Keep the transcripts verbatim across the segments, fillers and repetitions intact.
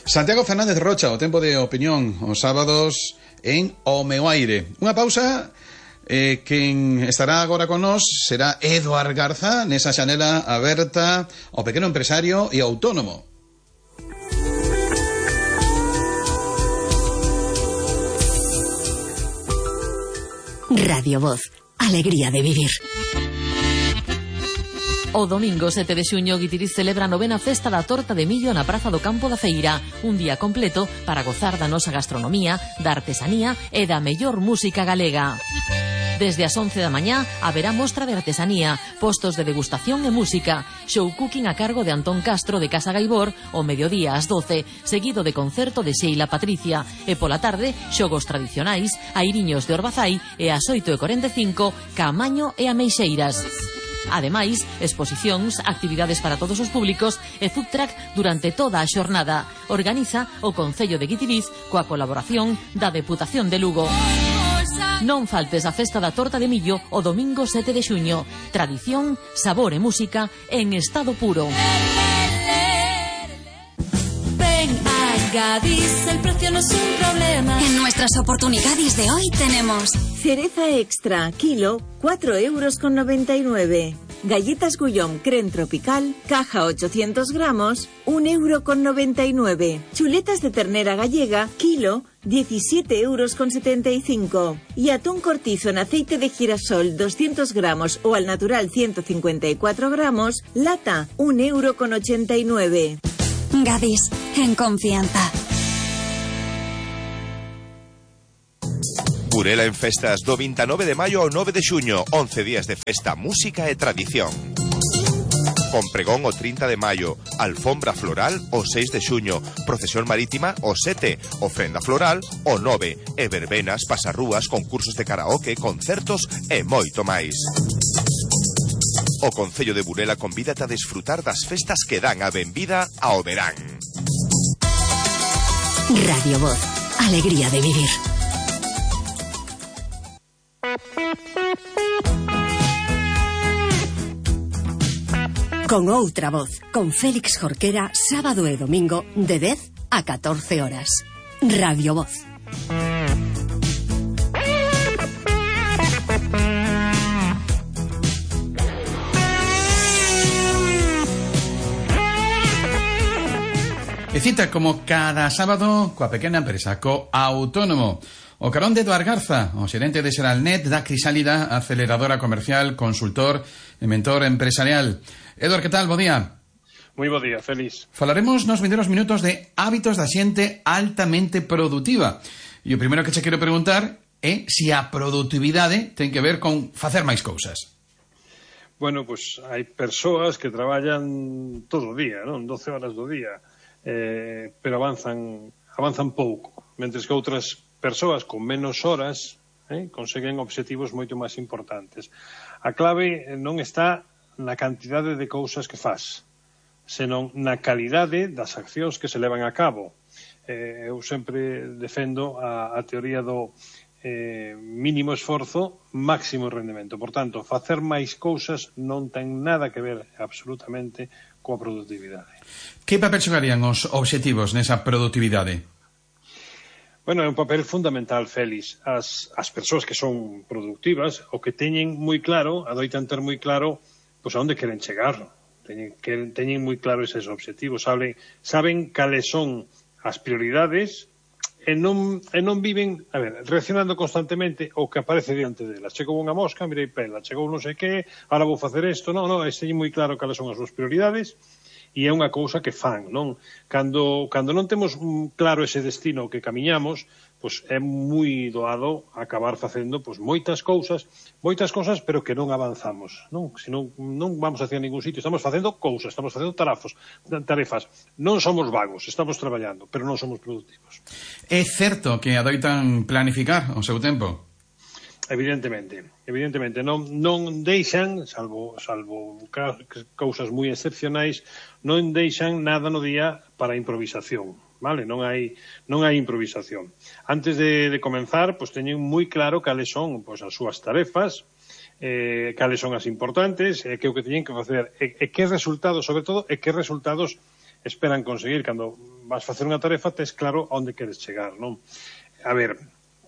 Santiago Fernández Rocha, o tempo de opinión os sábados en O Meu Aire. Unha pausa, eh, quen estará agora con nós será Eduard Garza, nesa xanela aberta ao pequeno empresario e autónomo. Radio Voz, alegría de vivir. O domingo sete de xuño Guitiriz celebra a novena festa da torta de millo na Praza do Campo da Feira. Un día completo para gozar da nosa gastronomía, da artesanía e da mellor música galega. Desde as once da mañá haberá mostra de artesanía, postos de degustación e música, show cooking a cargo de Antón Castro de Casa Gaibor, o mediodía ás doce, seguido de concerto de Sheila Patricia, e pola tarde, xogos tradicionais, airiños de Orbazai e ás oito e corenta e cinco, Caamaño e Ameixeiras. Ademais, exposicións, actividades para todos os públicos e food truck durante toda a xornada. Organiza o Concello de Guitiriz coa colaboración da Deputación de Lugo. Non faltes a festa da torta de millo o domingo sete de xuño. Tradición, sabor e música en estado puro. Ven a Gadis, el precio no es un problema. En nuestras oportunidades de hoy tenemos cereza extra, kilo, cuatro euros con noventa y nueve. Galletas Gullón Creme Tropical, caja ochocientos gramos, un euro con noventa y nueve. Chuletas de ternera gallega, kilo, diecisiete euros con setenta y cinco. Y atún cortizo en aceite de girasol, doscientos gramos o al natural ciento cincuenta y cuatro gramos, lata, un euro con ochenta y nueve. Gadis, en confianza. Burela en festas do veintinueve de maio ao nove de xuño, once días de festa, música e tradición. Con pregón o trinta de maio, alfombra floral o seis de xuño, procesión marítima o sete, ofrenda floral o nove, e verbenas, pasarrúas, concursos de karaoke, concertos e moito máis. O Concello de Burela convídate a desfrutar das festas que dan a benvida ao verán. Radio Voz, alegría de vivir. Con outra voz, con Félix Jorquera, sábado e domingo de dez a catorce horas. Radio Voz. E cita como cada sábado coa pequena empresa, co autónomo. O carón de Eduard Garza, o xerente de Xeralnet, da Crisálida, aceleradora comercial, consultor e mentor empresarial. Eduard, que tal? Bo día. Moi bo día, feliz. Falaremos nos vindeiros minutos de hábitos da xente altamente produtiva. E o primeiro que che quero preguntar é se a produtividade ten que ver con facer máis cousas. Bueno, pois hai persoas que traballan todo o día, non? doce horas do día, eh, pero avanzan avanzan pouco, mentres que outras persoas con menos horas eh, conseguen obxectivos moito máis importantes. A clave non está na cantidade de cousas que faz, senón na calidade das accións que se levan a cabo. Eh, eu sempre defendo a, a teoría do eh, mínimo esforzo, máximo rendemento. Por tanto, facer máis cousas non ten nada que ver absolutamente coa produtividade. Que papel xogarían os obxectivos nesa produtividade? Bueno, é un papel fundamental, Félix. As, as persoas que son productivas, o que teñen moi claro, adoitan ter moi claro, pois a onde queren chegar. Teñen, que, teñen moi claro eses obxectivos. Saben, saben cales son as prioridades e non, e non viven, a ver, reaccionando constantemente ao que aparece diante delas. Chegou unha mosca, mirei pela, chegou non sei que, ahora vou facer isto. Non, non, teñen moi claro cales son as súas prioridades. E é unha cousa que fan, non? Cando, cando non temos claro ese destino que camiñamos, pois é moi doado acabar facendo pois, moitas cousas, moitas cousas, pero que non avanzamos, non? Se non, non vamos hacia ningún sitio, estamos facendo cousas, estamos facendo tarafos, tarefas. Non somos vagos, estamos traballando, pero non somos productivos. É certo que adoitan planificar o seu tempo? Evidentemente, evidentemente non, non deixan, salvo, salvo cousas moi excepcionais, non deixan nada no día para improvisación, vale? Non hai, non hai improvisación. Antes de, de comenzar, pois teñen moi claro cales son pois, as súas tarefas, eh, cales son as importantes, e que o que teñen que facer, e, e que resultados, sobre todo, e que resultados esperan conseguir. Cando vas facer unha tarefa, tes claro onde queres chegar, non? A ver,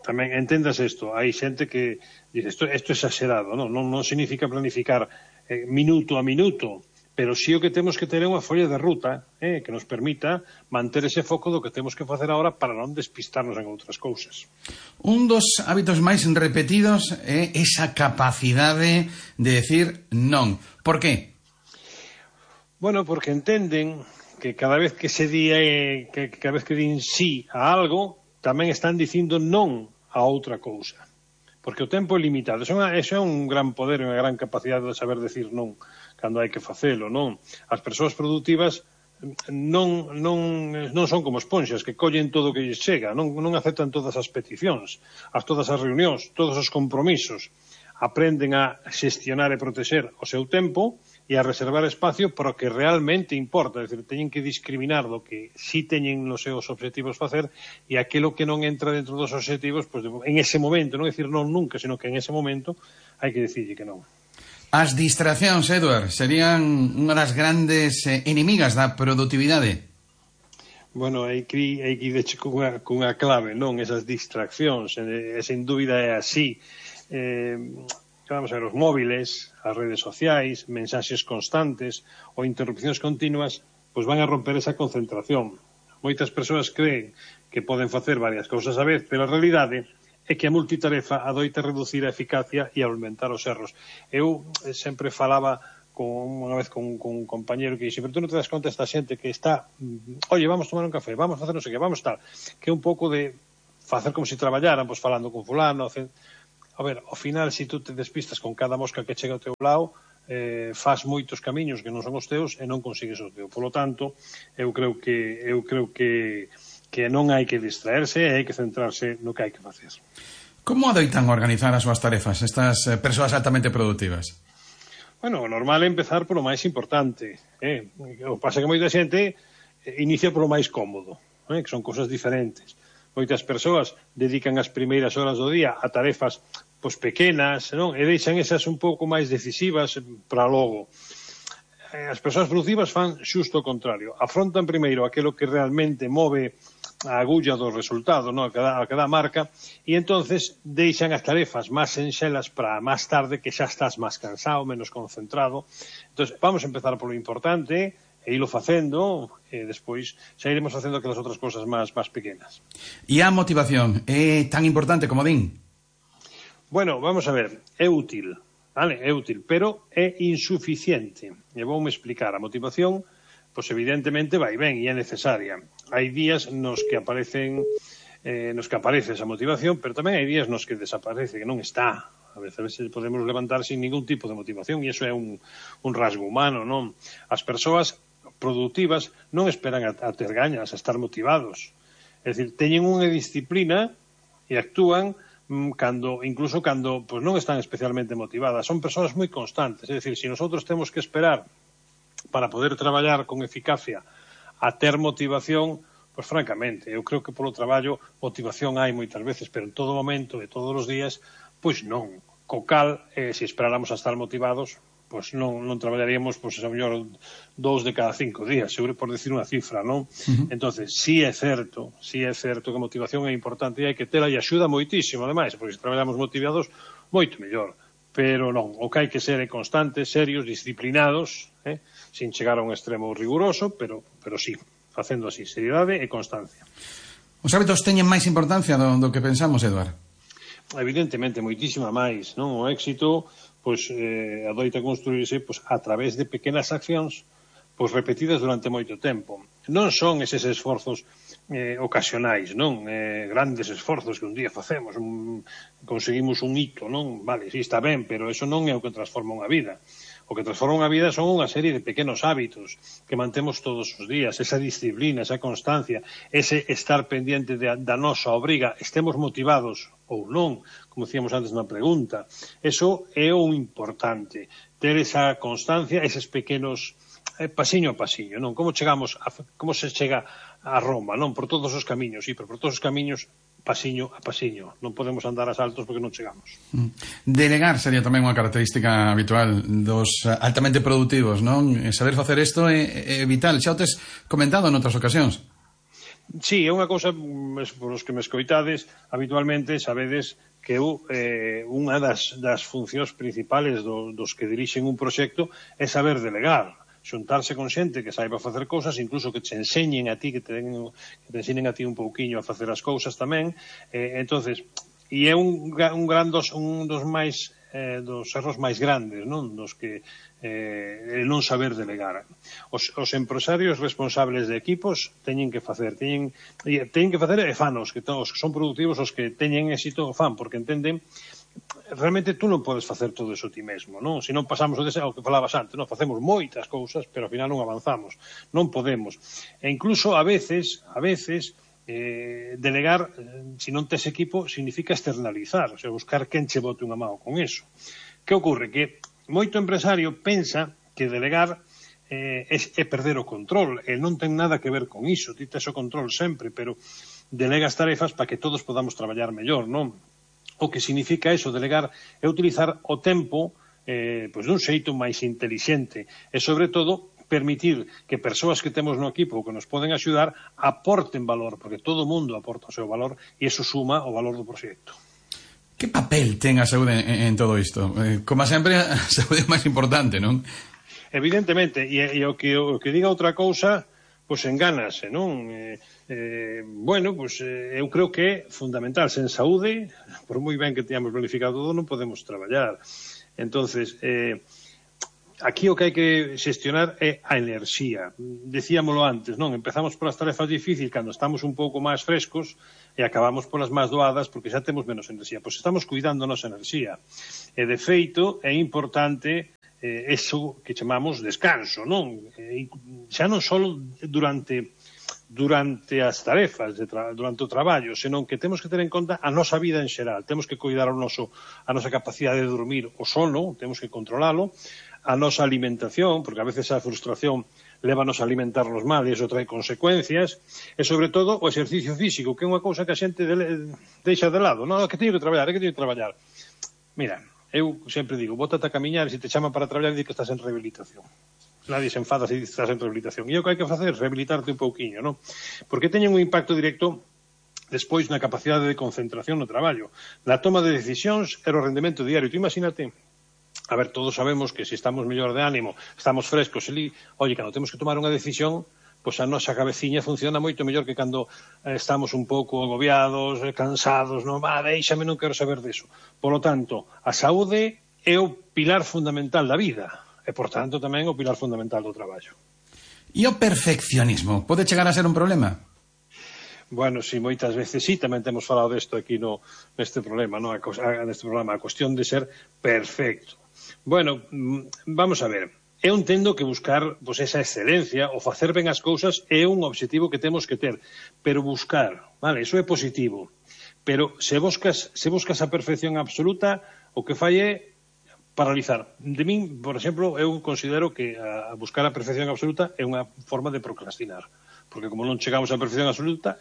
tamén entendas isto, hai xente que dice, isto, isto é exagerado, non? Non, non significa planificar eh, minuto a minuto, pero sí o que temos que ter é unha folla de ruta eh, que nos permita manter ese foco do que temos que facer agora para non despistarnos en outras cousas. Un dos hábitos máis repetidos é esa capacidade de decir non. Por qué? Bueno, porque entenden que cada vez que se di eh, que cada vez que din sí a algo, tamén están dicindo non a outra cousa. Porque o tempo é limitado. Eso é un gran poder e unha gran capacidade de saber decir non cando hai que facelo, non? As persoas productivas non, non, non son como esponxas que collen todo o que lles chega, non, non aceptan todas as peticións, as todas as reunións, todos os compromisos. Aprenden a xestionar e protexer o seu tempo e a reservar espacio para o que realmente importa. É dicir, teñen que discriminar do que sí teñen nos seus obxectivos facer e aquilo que non entra dentro dos obxectivos, pues, en ese momento, non é dicir non nunca, sino que en ese momento hai que dicirlle que non. As distraccións, Edward, serían unha das grandes eh, inimigas da produtividade. Bueno, hai que, hai que ir cunha, cunha clave, non? Esas distraccións, e, e sin dúbida é así. Eh, vamos a ver, os móviles, as redes sociais, mensaxes constantes ou interrupcións continuas, pois van a romper esa concentración. Moitas persoas creen que poden facer varias cousas a vez, pero a realidade é que a multitarefa adoita reducir a eficacia e aumentar os erros. Eu sempre falaba con, unha vez con, con un compañero que dixe, pero tú non te das conta esta xente que está, oye, vamos tomar un café, vamos a facer non sei que, vamos tal, que é un pouco de facer como se traballaran, pois falando con fulano. A ver, ao final, se tú te despistas con cada mosca que chega ao teu lado, eh, faz moitos camiños que non son os teus e non consigues os teus. Por lo tanto, eu creo que eu creo que que non hai que distraerse e hai que centrarse no que hai que facer. Como adoitan organizar as súas tarefas estas eh, persoas altamente productivas? Bueno, o normal é empezar polo máis importante. Eh? O que pasa que moita xente inicia polo máis cómodo, eh? Que son cosas diferentes. Moitas persoas dedican as primeiras horas do día a tarefas pois, pequenas, non? E deixan esas un pouco máis decisivas para logo. As persoas productivas fan xusto o contrario. Afrontan primeiro aquilo que realmente move a agulla do resultado, non? A cada, a cada marca, e entonces deixan as tarefas máis senxelas para máis tarde, que xa estás máis cansado, menos concentrado. Entonces, vamos a empezar polo importante e ilo facendo, e despois xa iremos facendo aquelas outras cosas máis, máis pequenas. E a motivación é tan importante como din? Bueno, vamos a ver, é útil, vale? É útil, pero é insuficiente. E voume explicar. A motivación, pois evidentemente vai ben e é necesaria. Hai días nos que aparecen eh, nos que aparece esa motivación, pero tamén hai días nos que desaparece, que non está. A veces podemos levantar sin ningún tipo de motivación e iso é un, un rasgo humano, non? As persoas productivas non esperan a, a ter gañas, a estar motivados. É dicir, teñen unha disciplina e actúan mm, cando, incluso cando pues, non están especialmente motivadas. Son persoas moi constantes. É dicir, se nosotros temos que esperar para poder traballar con eficacia a ter motivación, pois francamente, eu creo que polo traballo motivación hai moitas veces, pero en todo momento, de todos os días, pois non. Co cal, eh, se esperáramos a estar motivados, pois non, non traballaríamos, pois, a mellor, dous de cada cinco días, seguro por decir unha cifra, non? Uh-huh. Entonces, sí é certo, sí é certo que a motivación é importante e hai que tela e axuda moitísimo, ademais, porque se traballamos motivados, moito mellor. Pero non, o que hai que ser é constantes, serios, disciplinados, eh? sin chegar a un extremo riguroso, pero, pero sí, facendo así, seriedade e constancia. Os hábitos teñen máis importancia do, do que pensamos, Eduard? Evidentemente, moitísima máis, non? O éxito, pois, eh, adoita construirse pois, a través de pequenas accións pois, repetidas durante moito tempo. Non son eses esforzos eh, ocasionais, non? Eh, grandes esforzos que un día facemos, un, conseguimos un hito, non? Vale, sí, está ben, pero eso non é o que transforma unha vida. O que transforma unha vida son unha serie de pequenos hábitos que mantemos todos os días, esa disciplina, esa constancia, ese estar pendiente de, da nosa obriga, estemos motivados ou non, como decíamos antes na pregunta. Eso é o importante, ter esa constancia, eses pequenos eh, pasiño a pasiño, non? Como chegamos, a, como se chega a Roma, non? Por todos os camiños, sí, pero por todos os camiños pasiño a pasiño. Non podemos andar a saltos porque non chegamos. Delegar sería tamén unha característica habitual dos altamente productivos, non? Saber facer isto é, é vital. Xa o tes comentado en outras ocasións. Sí, é unha cousa, por os que me escoitades, habitualmente sabedes que eu, eh, unha das, das funcións principales do, dos que dirixen un proxecto é saber delegar. Xuntarse con xente que saiba facer cousas, incluso que te enseñen a ti, que te, que te enseñen a ti un pouquiño a facer as cousas tamén. Eh, entonces, e é un, un gran dos, un dos máis eh, dos erros máis grandes, non? Dos que eh, non saber delegar. Os, os empresarios responsables de equipos teñen que facer, teñen, teñen que facer e fanos, que os que son productivos, os que teñen éxito fan, porque entenden realmente tú non podes facer todo eso ti mesmo, non? Se non pasamos o deseo, o que falabas antes, non? Facemos moitas cousas, pero ao final non avanzamos, non podemos. E incluso a veces, a veces, eh, delegar, eh, se non tes equipo, significa externalizar, o sea, buscar quen che bote unha mão con eso. Que ocorre? Que moito empresario pensa que delegar eh, é, é perder o control, e non ten nada que ver con iso, ti tes o control sempre, pero delegas tarefas para que todos podamos traballar mellor, non? O que significa eso, delegar, é utilizar o tempo eh, pois dun xeito máis intelixente e, sobre todo, permitir que persoas que temos no equipo que nos poden axudar aporten valor, porque todo o mundo aporta o seu valor e iso suma o valor do proxecto. Que papel ten a saúde en, en todo isto? Eh, como sempre, a saúde é máis importante, non? Evidentemente, e, e o, que, o que diga outra cousa, pois engánase, non? Eh, eh, bueno, pois eh, eu creo que é fundamental. Sen saúde, por moi ben que teñamos planificado todo, non podemos traballar. Entonces, eh, aquí o que hai que xestionar é a enerxía. Decíamolo antes, non? Empezamos polas tarefas difíciles cando estamos un pouco máis frescos e acabamos polas máis doadas porque xa temos menos enerxía. Pois estamos cuidando a nosa enerxía. E, de feito, é importante eh, eso que chamamos descanso, non? Eh, xa non só durante durante as tarefas, de tra durante o traballo, senón que temos que ter en conta a nosa vida en xeral. Temos que cuidar o noso, a nosa capacidade de dormir o sono, temos que controlalo, a nosa alimentación, porque a veces a frustración lévanos a alimentarnos mal e iso trae consecuencias, e sobre todo o exercicio físico, que é unha cousa que a xente de, deixa de lado. Non, que teño que traballar, é que teño que traballar. Mira, eu sempre digo, bótate a camiñar e se te chaman para traballar, di que estás en rehabilitación. Nadie se enfada se estás en rehabilitación. E o que hai que facer? Rehabilitarte un pouquiño, non? Porque teñen un impacto directo despois na capacidade de concentración no traballo, na toma de decisións e o rendemento diario. Tú imagínate, a ver, todos sabemos que se estamos mellor de ánimo, estamos frescos, e li, oye, cando temos que tomar unha decisión, pois a nosa cabeciña funciona moito mellor que cando eh, estamos un pouco agobiados, eh, cansados, non, va, deixame, non quero saber deso. Por lo tanto, a saúde é o pilar fundamental da vida. E, por tanto, tamén o pilar fundamental do traballo. E o perfeccionismo pode chegar a ser un problema? Bueno, sí, moitas veces sí, tamén temos falado desto aquí no, neste problema, no? A, neste programa, a cuestión de ser perfecto. Bueno, vamos a ver, eu entendo que buscar pues, esa excelencia, o facer ben as cousas é un objetivo que temos que ter, pero buscar, vale, iso é positivo, pero se buscas, se buscas a perfección absoluta, o que fai é paralizar. De min, por exemplo, eu considero que a buscar a perfección absoluta é unha forma de procrastinar, porque como non chegamos á perfección absoluta,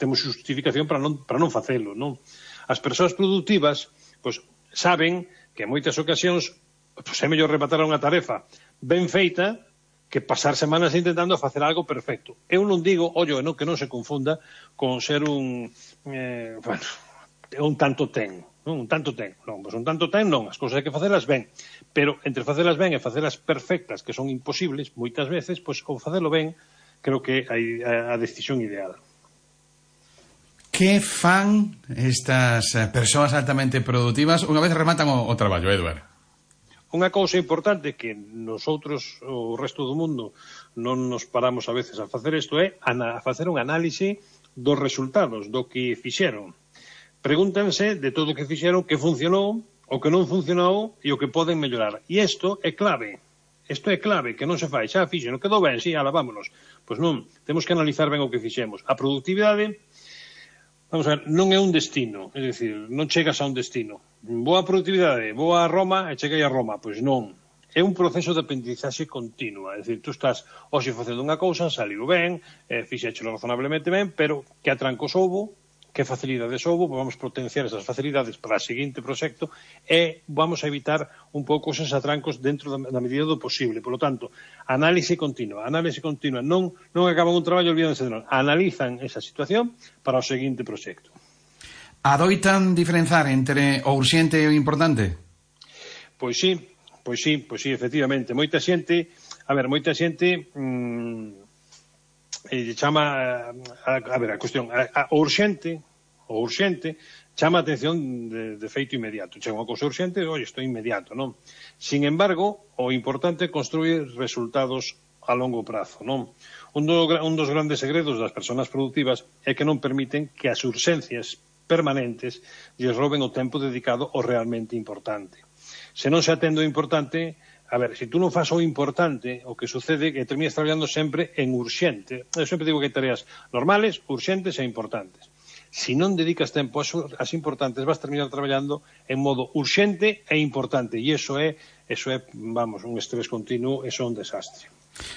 temos justificación para non, para non facelo, non? As persoas productivas, pois, saben que en moitas ocasións pois, é mellor rematar unha tarefa ben feita que pasar semanas intentando facer algo perfecto. Eu non digo, ollo, non, que non se confunda con ser un eh, bueno, un tanto ten, non? Un tanto ten, non, pois un tanto ten non, as cousas hai que facelas ben, pero entre facelas ben e facelas perfectas, que son imposibles, moitas veces, pois o facelo ben, creo que hai a decisión ideal. Que fan estas persoas altamente productivas unha vez rematan o, o traballo, Eduard? Unha cousa importante que nosotros, o resto do mundo, non nos paramos a veces a facer isto é a facer un análise dos resultados, do que fixeron. Pregúntanse de todo o que fixeron, que funcionou, o que non funcionou e o que poden mellorar. E isto é clave. Isto é clave, que non se fai. Xa fixen, non quedou ben, sí, ala, vámonos. Pois non, temos que analizar ben o que fixemos. A productividade, vamos a ver, non é un destino. É dicir, non chegas a un destino. Boa productividade, boa a Roma e cheguei a Roma. Pois non. É un proceso de aprendizaxe continua. É dicir, tú estás hoxe facendo unha cousa, saliu ben, eh, fixéchelo razonablemente ben, pero que atrancos houbo, que facilidades houve, vamos potenciar esas facilidades para o seguinte proxecto e vamos a evitar un pouco esos atrancos dentro da, da medida do posible. Por lo tanto, análise continua, análise continua, non, non acaban un traballo olvídense de non, analizan esa situación para o seguinte proxecto. Adoitan diferenzar entre o urxente e o importante? Pois sí, pois sí, pois sí, efectivamente. Moita xente, a ver, moita xente mmm, eh, chama, a, a ver, a cuestión, a, a, o urxente, o urxente, chama a atención de, de feito inmediato. Chega unha cousa urxente, oi, isto é inmediato, non? Sin embargo, o importante é construir resultados a longo prazo, non? Un, do, un dos grandes segredos das persoas productivas é que non permiten que as urxencias permanentes lles roben o tempo dedicado ao realmente importante. Se non se atende o importante, a ver, se tú non fas o importante, o que sucede é que terminas traballando sempre en urxente. Eu sempre digo que hai tareas normales, urxentes e importantes. Se non dedicas tempo ás importantes, vas terminar traballando en modo urxente e importante. E iso é, eso é, vamos, un estrés continuo, eso é un desastre.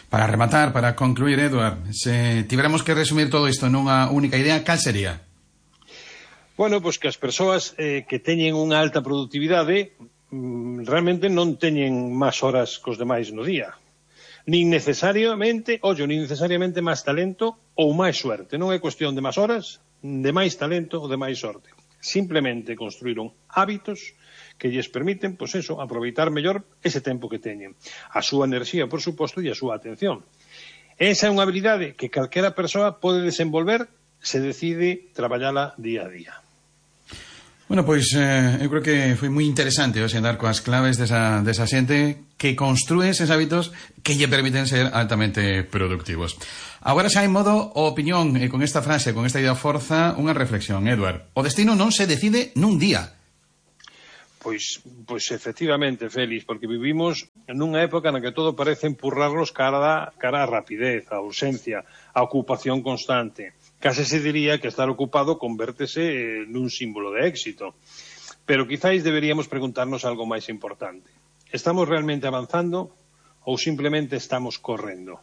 Para rematar, para concluir, Eduard, se tiveramos que resumir todo isto nunha única idea, cal sería? Bueno, pois que as persoas eh, que teñen unha alta productividade realmente non teñen máis horas cos demais no día. Nin necesariamente, ollo, nin necesariamente máis talento ou máis suerte. Non é cuestión de máis horas, de máis talento ou de máis sorte. Simplemente construíron hábitos que lles permiten, pois eso, aproveitar mellor ese tempo que teñen. A súa enerxía, por suposto, e a súa atención. Esa é unha habilidade que calquera persoa pode desenvolver se decide traballala día a día. Bueno, pois eh, eu creo que foi moi interesante o xendar coas claves desa, desa xente que construe eses hábitos que lle permiten ser altamente productivos. Agora xa en modo opinión, e con esta frase, con esta idea forza, unha reflexión, Eduard. O destino non se decide nun día. Pois, pois efectivamente, Félix, porque vivimos nunha época na que todo parece empurrarnos cara, cara a rapidez, a urxencia, a ocupación constante. Case se diría que estar ocupado convértese nun símbolo de éxito. Pero quizáis deberíamos preguntarnos algo máis importante. Estamos realmente avanzando ou simplemente estamos correndo?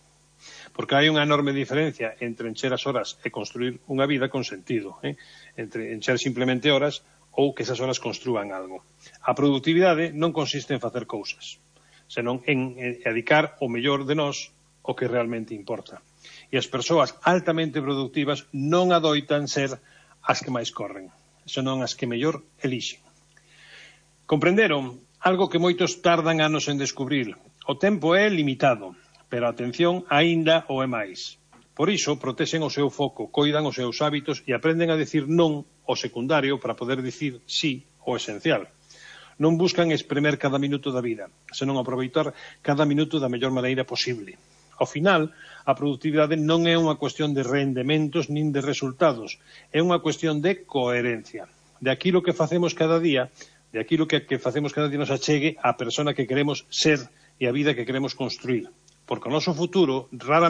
Porque hai unha enorme diferencia entre encher as horas e construir unha vida con sentido, eh? Entre encher simplemente horas ou que esas horas construan algo. A productividade non consiste en facer cousas, senón en dedicar o mellor de nós o que realmente importa. E as persoas altamente productivas non adoitan ser as que máis corren, senón as que mellor elixen. Comprenderon algo que moitos tardan anos en descubrir. O tempo é limitado, pero a atención aínda o é máis. Por iso, protexen o seu foco, coidan os seus hábitos e aprenden a decir non ao secundario para poder dicir sí ao esencial. Non buscan espremer cada minuto da vida, senón aproveitar cada minuto da mellor maneira posible. Ao final, a productividade non é unha cuestión de rendementos nin de resultados, é unha cuestión de coherencia. De aquilo que facemos cada día, de aquilo que, que facemos cada día nos achegue á persona que queremos ser e a vida que queremos construir. Porque o noso futuro raramente